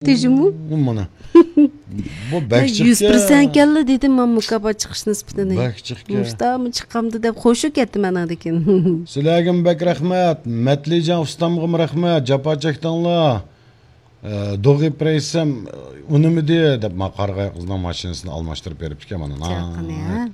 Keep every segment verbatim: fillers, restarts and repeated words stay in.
تېژىمۇ؟ مانا. بۇ بەك يۈز پىرسەنت كەلدى دېدىم مەن مۇكاپات چىقىش نىسبىتىنى. بەك چىقكەن. مۇشتامۇ چىقامدۇ دەپ خۇشۇ كەتتىم ئانىڭدىن كېيىن. سىلەرگىمۇ بەك رەھمەت. مەتلىجان ئۇستامغىمۇ رەھمەت. جاپا چەكتىڭلار. ئە، دوغىپ رەيسەم ئۇنىمىدى دەپ، ما قارىغاي قىزنىڭ ماشىنىسىنى ئالماشتۇرۇپ بېرىپتىكەن مانا. چاقىنى، ھە؟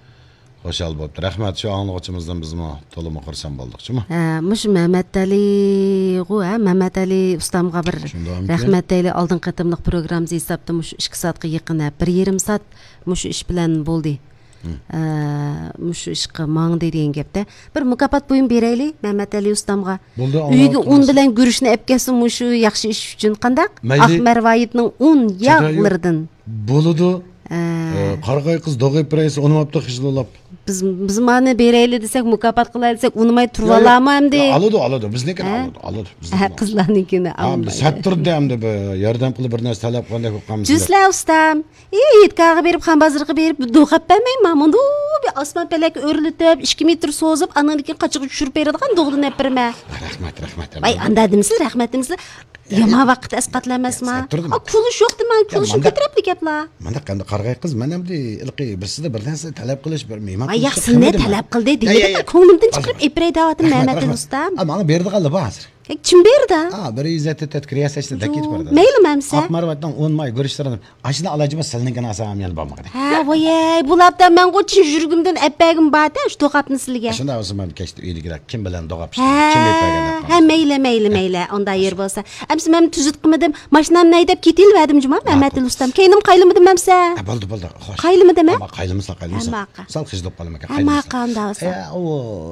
خۇشال بوپتۇ. رەھمەت، شۇ ئاڭلىغۇچىمىزدىن بىزمۇ تولىمۇ خۇرسەن بولدۇق، جۇمۇ. ھە، مۇشۇ مەمەتئەلىغۇ، ھە، مەمەتئەلى ئۇستامغا بىر شۇنداقمىكەن؟ رەھمەت دەيلى. ئالدىنقى قېتىملىق پروگراممىمىز ھېسابتا مۇشۇ ئىككى سائەتكە يېقىن، ھە، بىر يېرىم سائەت مۇشۇ ئىش بىلەن بولدى. ھە، مۇشۇ ئىشقا ماڭدى دېگەن گەپتە. بىر مۇكاپات بۇيۇم بېرەيلى مەمەتئەلى ئۇستامغا. بولدى، ئۆيگە ئۇن بىلەن گۈرۈچنى ئەپ كەلسۇن مۇشۇ ياخشى ئىش ئۈچۈن. قانداق؟ مەيلى. ئاق مەرۋايىتنىڭ ئۇن ياغلىرىدىن. بولىدۇ. ھە. ئە، قارىغاي قىز دوغىپ رەيس ئۇنىماپتۇ خىجىللاپ. بىز، بىز مانا بېرەيلى دېسەك، مۇكاپات قىلاي دېسەك، ئۇنىماي تۇرۇۋالامۇ ئەمدى؟ ياق، ياق. ئالىدۇ، ئالىدۇ. بىزنىڭكىنى ھە؟ ئالىدۇ، ئالىدۇ. ھە، قىزلارنىڭكىنى ئالمايدۇ. سەتتۇردى ئەمدى بىر ياردەم قىلىپ بىر نەرسە تەلەپ قىلغاندەك بولۇپ قالمىسىلەر. جۈسلە ئۇستام. ئى، ھېيتگاھقا بېرىپ، خان بازىرىغا بېرىپ، دوغ ئەپ بەرمەي، مانا مۇنداق بىر ئاسمان پەلەككە ئۆرلىتىپ، ئىككى مېتىر سوزۇپ، ئاندىن كېيىن قاچىغا چۈشۈرۈپ بېرىدىغان دوغدىن ئەپ بېرىمەن. رەھمەت، رەھمەت، ۋاي، رەھمەت. ئاندا دېمىسىلە، رەھمەت دېمىسىلە. يامان ۋاقىت ئەسقاتلىمەسما. سەت تۇردىم. ئا، كۈلۈش يوق دېمەڭ، يا، كۈلۈشنىڭ مانداق، كۆتۈرەپلىك گەپلا. مانداق ئەمدى قارىغاي قىز، مەن ئەمدى ھېلىقى بىرسىدە بىر نەرسە تەلەپ قىلىش، بىر مېھمان قىلىشقا كىرمىدىم مەن. ياق، سىلىنى تەلەپ قىلدى دېمىدىم، يا، يا، يا. كۆڭلۈمدىن چىقىرىپ ئېپىرەي دەۋاتىمەن، مەمەت ئۇستام. ئا، ماڭا بېرىدىغانلا بار ھازىر. كىم بېرىدۇ؟ ئا، بىر يۈز يەتتە تۆت كرېسەچنى دەكىتىپ بارىدۇ. مەيلى، مەمسە. ئاق مەرۋەتنىڭ ئون ماي گۈرۈچلىرىنى ئاشۇنى ئالايجىما سىلنىڭكىنى ئالسام يەنە بولمىغۇدەك. ھە، ۋايەي، بۇلاپتا مەنغۇ چىن يۈرىكىمدىن ئەپ بەرگۈم بارتە، شۇ دوغاپنى سىلىگە. شۇنداق بولسا مەن كەچتە ئۆيدىكىلەر كىم بىلەن دوغاپ ئىشلەيدۇ، كىم ئېيتىپ بەرگەن دەپ ھە، مەيلى، مەيلى، مەيلى. ئۇنداق يېرى بولسا. ئەمسە مەن تۈزۈت قىلمىدىم. ماشىنامنى ھەيدەپ كېتىۋەردىم جۇما، مەمەتئېلى ئۇستام. كەينىم قايلىمىدىم ئەمسە. ھە، بولدى، بولدى. خوش. قايلىمىدىم ھە؟ ئەمما قايلىمىسا، قايلىمىسا. ھە، ماقا. سەل خىجىل بولۇپ قالىمەن. ھە، ماقا ئۇنداق بولسا. ئە، ئۇ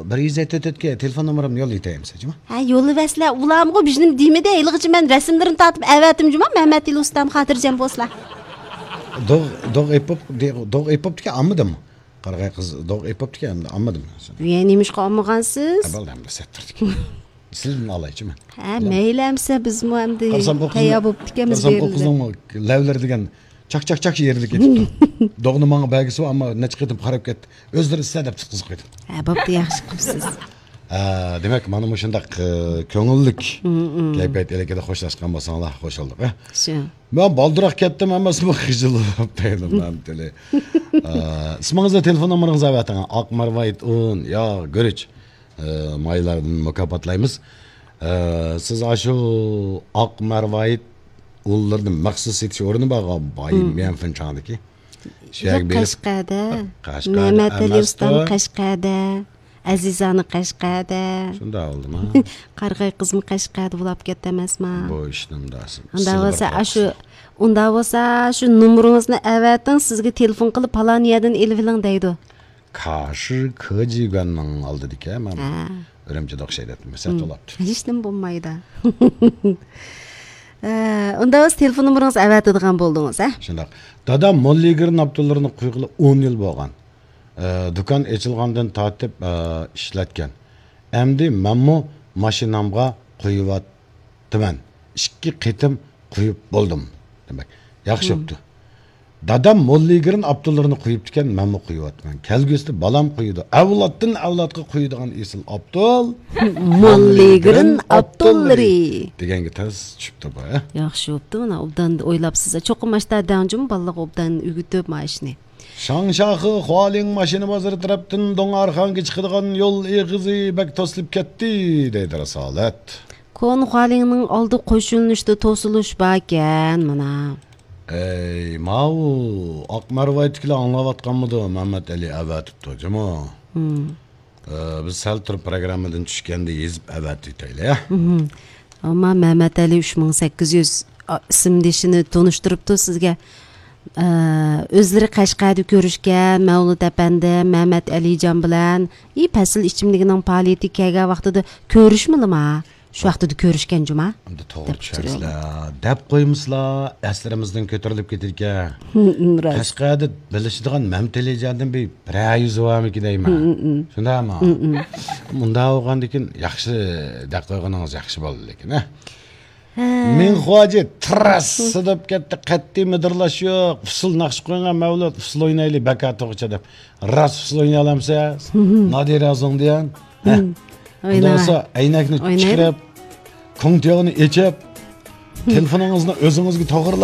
بىر يۈز يەتتە تۆتكە تېلېفون نومۇرۇمنى يوللىۋېتەي ئەمسە جۇما. ھە، يوللىۋەرسىلە، ئۇلارمۇ بىزنىڭ دېمىدى، ھېلىغىچە مەن رەسىملىرىنى تارتىپ ئەۋەتتىم جۇما، مەمەتئېلى ئۇستام خاتىرجەم بولسىلا. دوغ، دوغ ئېپىپ، دوغ ئېپىپتىكەن، ئالمىدىم. قارىغاي قىز، دوغ ئېپىپتىكەن، ئەمدى ئالمىدىم. يە، نېمىشقا ئالمىغانسىز؟ ئە، بولدى، ئەمدى سەتتىردىكەن. سىزدىن ئالايچۇ مەن. ھە، مەيلى ئەمسە بىزمۇ ئەمدى تەييار بوپتىكەنمىز. قارىسام، ئۇ قىزنىڭ لەۋلىرى دېگەن چاك، چاك، چاك يېرىلىپ كېتىپتۇ. دوغنى ماڭا بەرگۈسى، ئەمما نەچچە قېتىم قاراپ كەتتى. ئۆزلىرى ئىستە دەپ تۇتقۇزۇپ قويدۇم. ھە، بوپتۇ، ياخشى قىپسىز. ھە، دېمەك، مانا مۇشۇنداق، ئە، كۆڭۈللۈك كەيپىيات ئىلكىدە خوشلاشقان بولساڭلار، خوش بولدۇق، ھە. شۇ. مەن بالدۇراق كەتتىم، ھەممىسىمۇ خىجىل بولۇپ دەيدۇ، مەمتىلى. ئە، ئىسمىڭىزنى، تېلېفون نومۇرىڭىزنى ئەۋەتىڭ. ئاق مەرۋايىت ئۇن، ياغ، گۈرۈچ، ئە، مايلاردىن مۇكاپاتلايمىز. ئە، سىز ئاشۇ ئاق مەرۋايىت ئۇنلىرىنى مەخسۇس سېتىش ئورنى بارغان باي ميەنفېن چاڭدىكى. شۇ يەرگە بېرىپ، قەشقەردە، قەشقەردە مەمەتئېلى ئۇستام قەشقەردە، ئەزىزانى قەشقەردە. شۇنداق بولدىما؟ قارىغاي قىزمۇ قەشقەردە بولاپ كەتتى ئەمەسما؟ بۇ ئىشنىڭ داسى. ئۇنداق بولسا، ئاشۇ، ئۇنداق بولسا، شۇ نومۇرىڭىزنى ئەۋەتىڭ، سىزگە تېلېفون قىلىپ، پالان يەردىن ئېلىۋېلىڭ دەيدۇ. كاشى كېجىگۈەننىڭ ئالدىدىكى مانا ئۈرۈمچىدە ئوخشايدۇ، سەت بولاپتۇ. ھېچنېمە بولمايدۇ. ئە، ئۇنداق بولسا تېلېفون نومۇرىڭىزنى ئەۋەتىدىغان بولدىڭىز، ھە؟ شۇنداق. دادام موللىگرىن ئاپتونلىرىنى قۇيغىلى ئون يىل بولغان. ئە، دۇكان ئېچىلغاندىن تارتىپ، ئە، ئىشلەتكەن. ئەمدى مەنمۇ ماشىنامغا قۇيۇۋات تىمەن. ئىككى قېتىم قۇيۇپ بولدۇم. دېمەك، ياخشى بوپتۇ. دادام موللىگرىن ئاپتوللىرىنى قۇيۇپتىكەن، مەنمۇ قۇيۇۋاتىمەن. كەلگۈسىدە بالام قۇيىدۇ. ئەۋلادتىن ئەۋلادقا قۇيىدىغان ئېسىل ئاپتول. موللىگرىن ئاپتوللىرى. دېگەنگە تەس چۈشۈپتۇ بۇ، ھە؟ ياخشى بوپتۇ، مانا ئوبدان ئويلاپسىز. چوقۇم ماشتا دەڭجىمۇ بالىلارغا ئوبدان ئۆگىتىپ مانا ئىشنى. شاڭشاخې خۇالىڭ ماشىنا بازىرى تەرەپتىن دوڭئارخانغا چىقىدىغان يول ئېغىزى بەك توسۇلۇپ كەتتى، دەيدۇ رىسالەت. كونا خۇالىڭنىڭ ئالدى قوش يۆنىلىشتە توسۇلۇش باركەن، مانا. ئەي، ماۋۇ ئاق مەرۋايىتتىكىلەر ئاڭلاۋاتقانمىدۇ؟ مەمەتئەلى ئەۋەتىپتۇ، جۇمۇ. ھىم. ئە، بىز سەل تۇرۇپ پروگراممىدىن چۈشكەندە يېزىپ ئەۋەتىۋېتەيلى، ھە؟ ھىم. ئەمما مەمەتئەلى ئۈچ مىڭ سەككىز يۈز، ئا، ئىسىمدىشىنى تونۇشتۇرۇپتۇ سىزگە. ئە، ئۆزلىرى قەشقەردە كۆرۈشكەن مەۋلۇت ئەپەندى مەمەتئەلىجان بىلەن، ئى، پەسىل ئىچىملىكىنىڭ پائالىيىتىگە كەلگەن ۋاقتىدا كۆرۈشمىدىما؟ شۇ ۋاقتىدا كۆرۈشكەن جۇما. ئەمدى توغرا چۈشەنسىلەر. دەپ قويمىسىلا، ئەسلىرىمىزدىن كۆتۈرۈلۈپ كېتىدىكەن. ھىم، راست. قەشقەردە بىلىشىدىغان مەمتىلىجاندىن بىر بىرەر يۈز بارمىكىن دەيمەن. ھىم، ھىم. شۇنداقمۇ؟ ھىم، ھىم. مۇنداق بولغاندىكىن ياخشى دەپ قويغىنىڭىز ياخشى بولدى لېكىن، ھە؟ ھە. مىڭخۇاجى تىرەس سىدىپ كەتتى، قەتئىي مىدىرلاش يوق. ئۇسسۇل ناخشا قويۇڭ، مەۋلۇت، ئۇسسۇل ئوينايلى، بەكاتوغىچە دەپ. راست ئۇسسۇل ئوينىيالامسىز؟ نادىرە زوڭدىيان. ھە. ئۇنداق بولسا، ئەينەكنى چىقىرىپ، كوڭتىياغنى ئېچىپ، تېلېفونىڭىزنى ئۆزىڭىزگە توغرىلاپ،